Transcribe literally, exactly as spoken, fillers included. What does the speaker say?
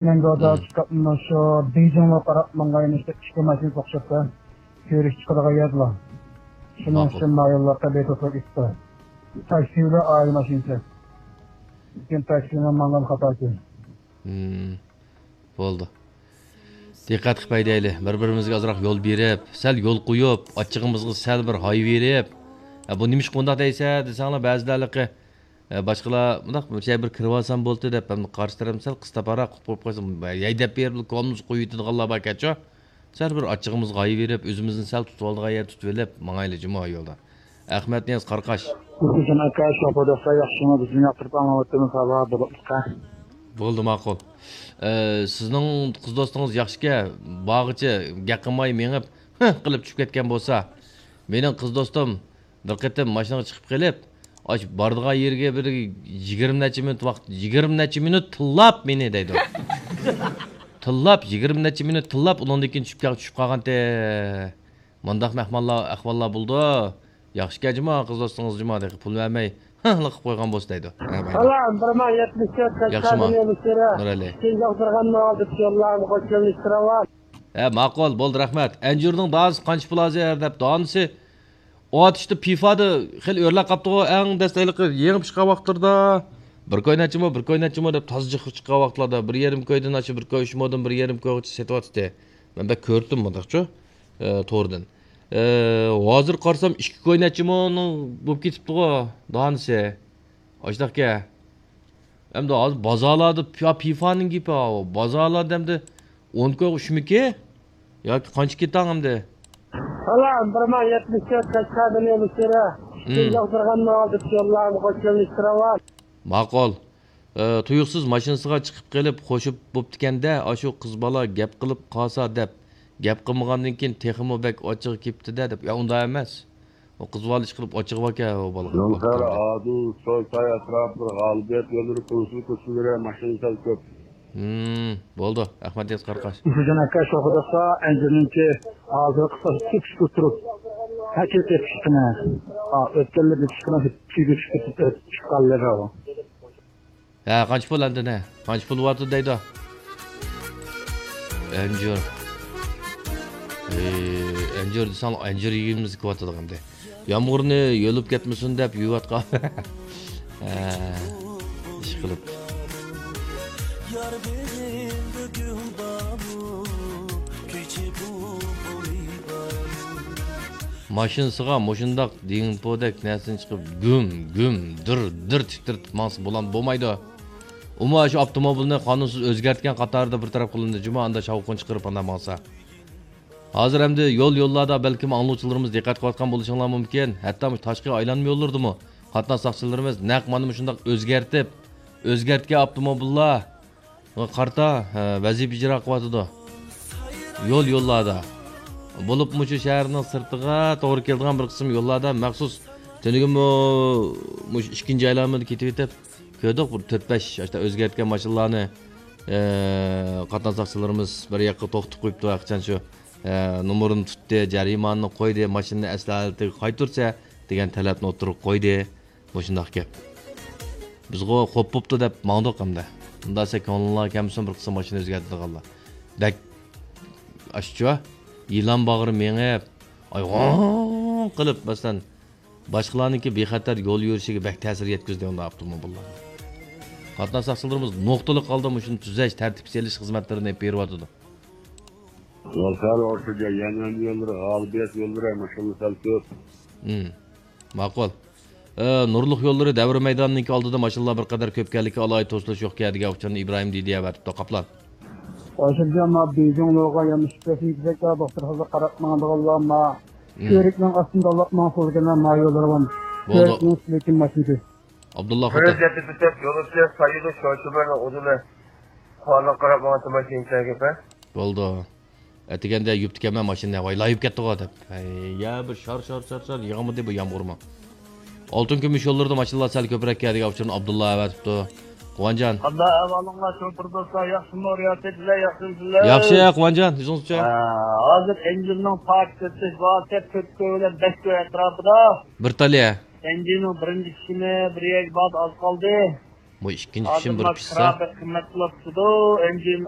مەن گودا چىقىپ، مۇشۇ بېيجىڭغا قاراپ ماڭغان ئىككى ماشىنا توختىتىپتۇ. كۆرۈش چىقىدىغان يەردىلا. شۇنىڭ ماقۇل. ئۈچۈن مايونلارغا بېتوسلۇق ئىتتى. تاكسىدا ئائىلە ماشىنىسى. لېكىن تاكسىنىڭ ماڭغان خاتاسى. ھىم، بولدى. دىققەت قىلىپ ھەيدەيلى. بىر-بىرىمىزگە ئازراق يول بېرىپ، سەل يول قويۇپ، ئاچچىقىمىزغا سەل بىر ھاي بېرىپ، «ئە، بۇ نېمىشقا بۇنداق دەيسە؟» دېسەڭلار، بەزىلەرلىقى، ئە، باشقىلار، «مۇنداق بىر شەي بىر كىرىۋالسام بولدى» دەپ، ھەم قارشى تەرەپمۇ سەل قىستاپراق قىلىپ قويۇپ قويسا، ھەيدەپ بېرىپ، كولىمىزغا قويۇۋېتىدىغانلار باركەنچۇ. سەل بىر ئاچچىقىمىزغا ھاي بېرىپ، ئۆزىمىزنى سەل تۇتۇۋالىدىغان يەر تۇتۇۋېلىپ ماڭايلى جۇمۇ يولدا. ئەخمەت نىياز قاراقاش. ھۈسەن ئاكا، شوپۇر دوستلار ياخشىمۇ؟ بىزنى ياقتۇرۇپ ئاڭلاۋاتىمىز، ھاۋا بۇلۇتلۇققا. بولدى، ماقۇل. ئە، سىزنىڭ قىز دوستىڭىز ياخشىكەن، بارغىچە گەپ قىلماي مېڭىپ، ھىھ قىلىپ چۈشۈپ كەتكەن بولسا، مېنىڭ قىز دوستۇم بىر قېتىم ماشىنىغا چىقىپ قېلىپ، ئاش بارىدىغان يېرىگە بىر يىگىرمە نەچچە مىنۇت ۋاقىت، يىگىرمە نەچچە مىنۇت تىللاپ مېنى دەيدۇ. تىللاپ، يىگىرمە نەچچە مىنۇت تىللاپ، ئۇنىڭدىن كېيىن چۈشۈپ كەل-، چۈشۈپ قالغانتى. مۇنداق مەھمانلار، ئەھۋاللار بولىدۇ. ياخشىكەن جۇما، قىز دوستىڭىز جۇما، دېگەن پۇل بەرمەي، ھىڭ قىلىپ قويغان بولسا دەيدۇ. ھە، مايلى. سالام، بىر مىڭ يەتمىش تۆت، ياخشىما؟ نۇرەلى. نۇرەلى. ئىككىنچى ئوخشىغان ماڭا دېسە يوللارمۇ قوشۇلۇشتۇرۇۋال. ھە، ماقۇل، بولدى، رەھمەت. ئەنجۈرنىڭ دانىسى قانچە پۇل ھازىر دەپ، دانىسى ئاتۇشتا پىفادا خېلى ئۆرلەپ قاپتىغۇ، ئەڭ دەسلەپلىكى يېڭى چىققان ۋاقىتلىرىدا. بىر كوي نەچچىمۇ، بىر كوي نەچچىمۇ دەپ تازا جىق چىققان ۋاقىتلاردا، بىر يېرىم كويدىن ئاشۇ بىر كوي ئۈچ مودىن بىر يېرىم كويغىچە سېتىۋاتىتتى. مەن بەك كۆردۈم مۇنداقچۇ، ئە، توردىن. ئە، ھازىر قارىسام، ئىككى كوي نەچچە مونىڭ بولۇپ كېتىپتىغۇ، دانىسى. ئاشۇنداقكەن. ئەمدى ھازىر بازارلاردا پىيا پىفانىڭ گېپى ھاۋۇ. بازارلاردا ئەمدى ئون كويغا ئۈچمىكى؟ ياكى قانچە كېتەڭ ئەمدى؟ سالام، بىر مىڭ يەتمىش تۆت، قەشقەردىن ئېلىشتۇرە. مم. ئىككىنچى ئوخشىغان ماڭا دېسە يوللارمۇ قوشۇلۇشتۇرۇۋال. ماقۇل. ئە، تۇيۇقسىز ماشىنىسىغا چىقىپ قېلىپ، خوشۇپ بوپتىكەن-دە، ئاشۇ قىز بالا گەپ قىلىپ قالسا دەپ، گەپ قىلمىغاندىن كېيىن تېخىمۇ بەك ئاچچىقى كېپتۇ-دە دەپ. يا، ئۇنداق ئەمەس. ئۇ قىز بالا ئىشقىلىپ ئاچچىقى باركەن، ئۇ بالىغا. يولخەر ئادىل، سويساي ئەتراپلىرى، غالىبىيەت يوللىرى، كونسۇل كوچىلىرى، ماشىنا سەل كۆپ. ھىم، بولدى. ئەخمەت ياز قاراقاش. ئۇشۇنىڭ ئەكە شوخىداسا، ئەنجۈرنىڭكى ھازىر قىسقا تۈكۈش ئولتۇرۇپ، ھەكىل تېپىشقىنە. ئا، ئۆتكەنلەردە چىققان تۈگۈش كېتىپ، چىققانلىرى ئۇ. ھە، قانچە پۇل ئەمدى نە؟ قانچە پۇل بارتى دەيدۇ. ئەنجۈر. ئەي، ئەنجۈر دېسەڭ، ئەنجۈر يېگىنىمىز كېلىۋاتىدىغان دە. يامغۇرنى يۆلۈپ كەتمىسۇن دەپ يۇيۇۋاتقان. ھە، ئىشقىلىپ. ماشىنىسىغا مۇشۇنداق دىڭپودەك نەرسىنى چىقىپ، گۈم، گۈم، دىر، دىر تىترىتىپ ماڭسا بولام-، بولمايدۇ. ئۇمۇ شۇ ئاپتوموبىلنى قانۇنسىز ئۆزگەرتكەن قاتارىدا بىر تەرەپ قىلىندى جۇمۇ، ئاندا شاۋقۇن چىقىرىپ ئانداق ماڭسا. ھازىر ئەمدى يول-يوللاردا بەلكىم ئاڭلىغۇچىلىرىمىز دىققەت قىلىۋاتقان بولۇشۇڭلار مۇمكىن، ھەتتا مۇشۇ تاشقى ئايلانما يوللىرىدىمۇ قاتناش ساقچىلىرىمىز نەق مانا مۇشۇنداق ئۆزگەرتىپ، ئۆزگەرتكەن ئاپتوموبىللار، قارىتا، ھە، ۋەزىپە ئىجرا قىلىۋاتىدۇ. يول-يوللاردا. بولۇپمۇ شۇ شەھەرنىڭ سىرتىغا توغرا كېلىدىغان بىر قىسىم يوللاردا مەخسۇس تۈنۈگۈنمۇ مۇشۇ ئىككىنچى ئايلانمىدا كېتىۋېتىپ كۆردۇق، بىر تۆت-بەش ئاشۇنداق ئۆزگەرتكەن ماشىنىلارنى، ئە، قاتناش ساقچىلىرىمىز بىر ياققا توختىتىپ قويۇپتۇ، ھەقىچان شۇ، ئە، نومۇرىنى تۇتتى، جەرىمانىنى قويدى، ماشىنىنى ئەسلى ھالىتىگە قايتۇرسا دېگەن تەلەپنى ئوتتۇرىغا قويدى. مۇشۇنداق گەپ. بىزغۇ خوپ بوپتۇ دەپ ماڭدۇق ئەمدى. ئۇنداق دېسە كۆڭلۈڭلارغا كەلمىسۇن بىر قىسىم ماشىنا ئۆزگەرتىدىغانلار. بەك ئاشۇچۇ، يىلان باغرى مېڭىپ، ئاي، غوڭ قىلىپ، مەسىلەن، باشقىلارنىڭكى بىخەتەر يول يۈرۈشىگە بەك تەسىر يەتكۈزدى ئۇنداق ئاپتوموبىللار. قاتناش ساقچىلىرىمىز نۇقتىلىق ھالدا مۇشۇنى تۈزەش، تەرتىپكە سېلىش خىزمەتلىرىنى ئېلىپ بېرىۋاتىدۇ. ۋالسار ئورتىجا، يەنئەن يوللىرى، غالىبىيەت يوللىرى، ماشىنا سەل كۆپ. مم. ماقۇل. ئە، نۇرلۇق يوللىرى دەۋر مەيدانىنىڭكى ئالدىدا ماشىنىلار بىر قەدەر كۆپكەنلىكى، ئالاھىدە توسۇلۇش يوقكەن دېگەن ئۇچۇرنى ئىبراھىم دىدى ئەۋەتىپتۇ. قاپلان. ھازىرچە ما بېيجىڭ لوغا يەنە ئىككى بەش يىگىت بەك دوختۇر خىزمەت قاراپ ماڭىدىغانلار ما. مم. كۆۋرۈكنىڭ ئاستىدا ئاللاپ ماڭسىلىكەن ما يوللىرى بار. بولدى. كۆۋرۈكنىڭ ئۈستىدىكى ماشىنىسى. ئابدۇللا خوتەن. كۆۋرۈك يەتتە كۆچەت يولۇچى سايىدۇ شوشىبىرنىڭ ئۇدۇلى. قۇۋانلىق قاراپ ماڭىدۇ ماشىنا ئىچىدىكى. بولدى. ئەتىگەندە يۇپتىكەنمەن ماشىنىنى، ۋاي، لاي يۇپ كەتتىغۇ دەپ. ھەي، يا بىر شار، شار، شار، شار يېغىمىدى بۇ يامغۇرمۇ. ئالتۇن كۈمۈش يوللىرىدا ماشىنىلار سەل كۆپرەك كەلدىگەن ئۇچۇرنى ئابدۇللا ئەۋەتىپتۇ. قۇۋانجان. قانداق ئەھۋالىڭلار، شوپۇر دوستلار، ياخشىمۇ؟ رىياسەتچىلەر ياخشىمۇسىلەر؟ ياخشى، قۇۋانجان، ئۆزىڭىزچە؟ ھە، ھازىر ئەنجۈرنىڭ پارك سېتىش باھاسى تۆت كوي بىلەن بەش كوي ئەتراپىدا. بىر تالىيە. ئەنجۈرنىڭ بىرىنچى قىسمى بىر يەرگە بارىدۇ، ئاز قالدى. بۇ ئىككىنچى پىشىم بىر پىشسا. قىممەت قىلىۋاتىدۇ. ئەنجىم